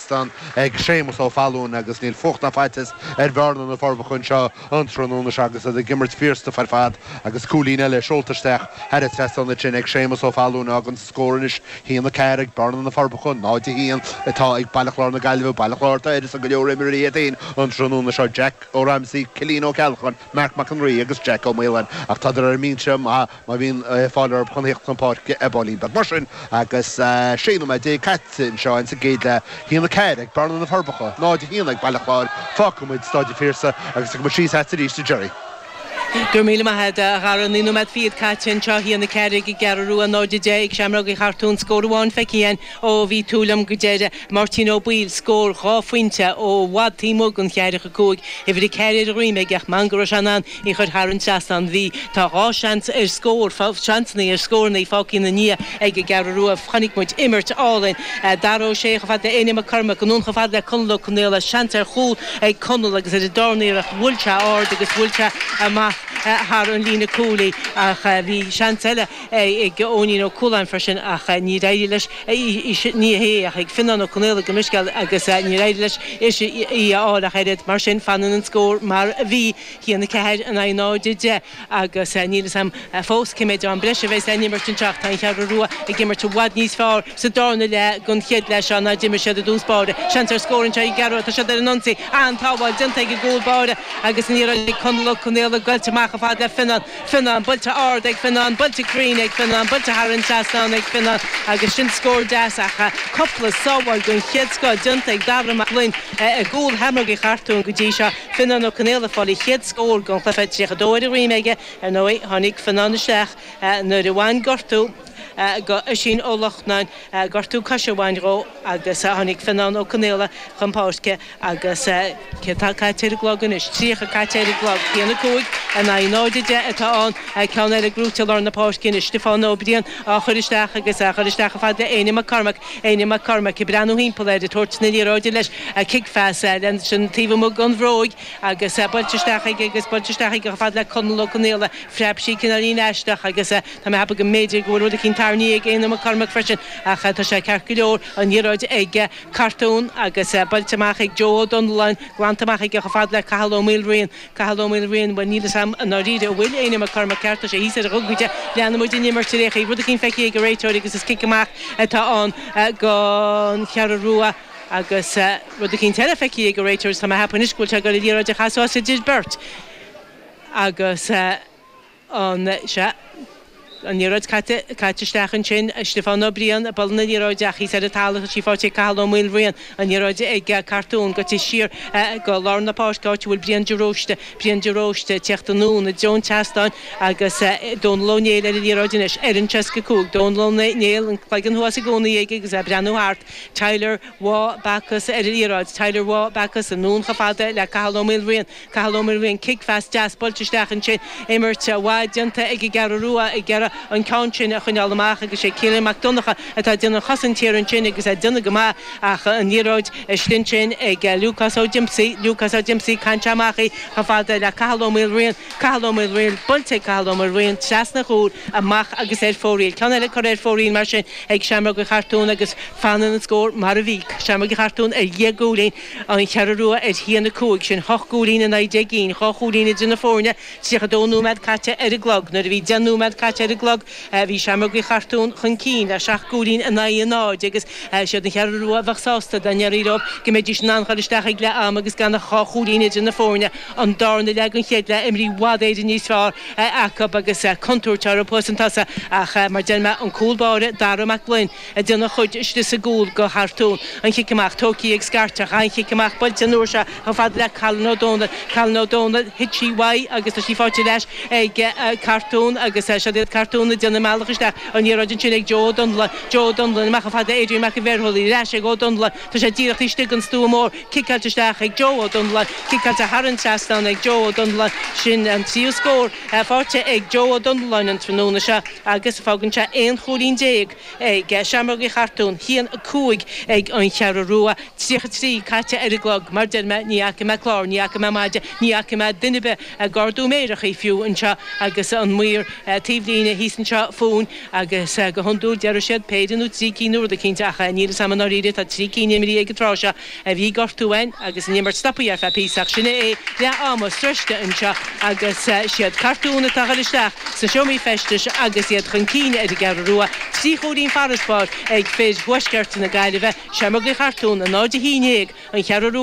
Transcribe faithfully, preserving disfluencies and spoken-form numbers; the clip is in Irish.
trasnán ag Séamus Ó Fallún agus níl fuacht ná faitíos ar Bhearna na Forbacha anseo an tráthnóna seo agus ag imirt fíorstuif ar fad agus cúilín eile seolta isteach thar an trasnán sin ag Séamus Ó Fallún agus an scór anois haon a ceathair ag Bearna na Forbacha náid a haon atá ag Baile Chláir na Gaillimhe Baile Chláir tá ar go leor imreoirí iad an tráthnóna seo Jack Ó Ramsey Cillian Ó Ceallacháin Mark Mac an Rí agus Jack Ó Maoláin ach tá ar mbinse má bhíonn fáil orthu chun theacht chun páirce i bPailín Beag mar sin agus sé nóiméad déag caite anseo sa gcéad leath haon a ceathair ag Bearna na Forbacha náid a haon ag Baile Chláir fágfaimid Staid an Phiarsaigh agus go síos arís Jerry. Gur míle maith a Dhara naoi nóiméad fichead caite anseo haon a ceathair ag an gCeathrú Rua náid a deich ag Seamróg Uí Chartúin scór amháin feicthe ó bhí tú liom go deireadh Martin Ó Baoill scór dhá phointe ó bhfad taobh amuigh den cheathracha cúig uimhir a ceathair ar a dhroim ag ach man go raibh sé in ann í chur thar an trasnán bhí tá dhá seans ar scór seansanna ar scóranna fágtha ina ndiaidh ag an gCeathrú Rua chonaic muid imirt álainn Dara Ó Sé chomh fada le Éanna Mac Cormaic anonn chomh fada le Conall Ó Conaola seans ar chúl ag Conall agus ar an darna iarracht bhuail sé ard agus bhuail sé amach thar an líne cúil ach bhí seans eile ag Eoinín Ó Cualáin freisin ach ní éirigh leis ní hé ach ag Fionnán Ó Conaola go misceal agus ní éirigh leis is í a fháil ach oiread mar sin fanann an scór mar a bhí haon a ceathair in aghaidh náid a deich agus níl a fhios agam fós cé mhéad am breise a bheas le n-imirt anseo tá an Cheathrú Rua ag imirt i bhfad níos fearr sa darna leath den chéad leath seo ná d'imir siad i dtús báire seans ar scór anseo ag an gCeathrú tá siad ar an ionsaí an-tsábháil déanta ag an gcúl báire agus ní raibh Conall Ó Conaola goilte amach chomh fada le Fionnán Fionnán buailte ard ag Fionnán buailte cruinn ag Fionnán buailte thar an trasnán ag Fionnán agus sin scór deas ach cúpla sábháil den chéad scoth déanta ag Dara Mac Gloinn i gcúl Sheamróg Uí Chartúin go dtí seo Fionnán Ó Conaola fáil a chéad scór den chluiche tríocha dó ar a dhroim aige ar ndóigh tháinig Fionnán isteach nuair a bhain gortú go Oisín Ó Lochnáin gortú coise a bhain dhó agus tháinig Fionnán Ó Conaola chun páirce agus cé tá caite ar an gclog anois tríocha caite ar an gclog haon a cúig in aghaidh náid a deich atá ann ceann eile gnóite lár na páirce anois Stiofán Ó Briain á chur isteach agus á chur isteach chomh fada le Éanna Mac Cormaic Éanna Mac Cormaic ag breathnú timpeall air ag tabhairt na liathróide leis cic-phas leis an taobh amuigh den bhróig agus buailte isteach aige agus buailte isteach aige chomh fada le Conall Ó Conaola phreab sí cineáilín aisteach agus tá mé ag ceapadh go mb'fhéidir go bhfuil rud eicínt tarraingthe ag Éanna Mac Cormaic freisin ach tá sé ceart go leor an liathróid ag Cartún agus buailte amach ag Joe Ó Donnellan glanta amach aige chomh fada le Cathal Ó Maoilriain Cathal Ó Maoilriain bhuel níl a fhios agam an ndáiríre a bhfuil Éanna Mac Cormaic ceart tá sé thíos ar a ghogaide leanfaidh muid an imirt ar aon chaoi rud eicínt feicthe ag an réiteoir agus is cic amach atá ann don Cheathrú Rua agus rud eicínt eile feicthe ag an réiteoir tá mé ag ceapadh anois go bhfuil sé ag dul an liathróid a chasadh idir beirt agus an se an liathróid caite caite isteach ansin Stiofán Ó Briain ag bualadh na liathróide ach thíos ar an talamh sí faighte Cathal Ó Maoilriain an liathróid ag Cartún go dtí siar go lár na páirce áit a bhfuil Brian de Róiste Brian de Róiste teacht anonn i dtreo an tseastáin agus Dónal Ó Néill ar an liathróid anois ar an seasca cúig Dónal Ó Néill an cloigeann thuas i gcónaí aige agus é breathnú thart Tyler Waugh Bacchus ar an liathróid Tyler Waugh Bacchus anonn chomh fada le Cathal Ó Maoilriain Cathal Ó Maoilriain cic-phas deas buailte isteach ansin imirt mhaith déanta ag an gCeathrú Rua ag iarraidh an ceann sin a choinneáil amach agus sé Cillian Mac Donncha atá déanamh chosaint thiar ansin agus é déanamh go maith ach an liathróid istigh sin ag Lucas Ó Dimpsey Lucas Ó Dimpsey caint amach í chomh fada le Cathal Ó Maoilriain Cathal Ó Maoilriain buailte Cathal Ó Maoilriain trasna chúl amach agus ar fóraoil. Ceann eile curtha ar fóraoil mar sin ag Seamróg Uí Chartúin agus fanann an scór mar a bhí Seamróg Uí Chartúin ar dheich gcúilín an Cheathrú Rua ar haon a cúig sin hocht gcúilín in aghaidh deich gcinn dhá chúilín idir na foirne tríocha dó nóiméad caite ar an gclog nuair a bhí deich nóiméad caite ar an gclog bhí Seamróg Uí Chartúin chun cinn le seacht gcúilín in aghaidh a náid agus siad an Cheathrú Rua a bheadh sásta dá ndéarfaí leo go mbeidís in ann dul isteach ag leath am agus gan ach dhá chúilín idir na foirne an darna leath den chéad leath imreoirí i bhfad Éireann níos fearr acu agus contúirt orthu thuas chun tosaigh ach mar deir mé an cúl báire Dara Mac Gloinn ag déanamh a chuid istigh sa gcúl go Chartún an chic amach tógtha ag Scairteach an chic amach buailte an uair seo chomh fada le Colin Ó Dónaill Colin Ó Dónaill thit sí uaidh agus tá sí faighte ar ais ag Cartún agus siad iad Cartún ag déanamh a mbealach isteach an liathróid ansin ag Joe Ó Donnellan Joe Ó Donnellan amach chomh fada Adrian Mac an Bhéarthólaí ar ais ag Ó Donnellan tá sé díreach istigh an stua mór ciceáilte isteach ag Joe Ó Donnellan ciceáilte thar an trasnán ag Joe Ó Donnellan sin an tríú scór faighte ag Joe Ó Donnellan an tráthnóna seo agus fágann sé aon chúilín déag ag Seamróg Uí Chartún haon a cúig ag an Cheathrú Rua tríocha trí caite ar an gclog mar deir mé ní fhaca mé clár ní fhaca mé maide ní fhaca mé duine ar bith ag ardú méireachaí fiú anseo agus an maor taobhlíne thíos anseo fúinn agus go hiondúil deir siad péire nó trí cinn nó rud éicint ach níl a fhios agam i ndáiríre tá trí cinn imeartha ag an tráth seo a bhí gortú ann agus an imirt stoptha ar feadh píosa ach sin é leath ama sroichte anseo agus siad Cartún atá ag dul isteach sna seomraí feistis agus iad chun cinn ar an gCeathrú Rua trí chúilín farasbarr ag fir Thuaisceart na Gaillimhe Seamróga Chartún a náid a haon déag an Cheathrú Rua.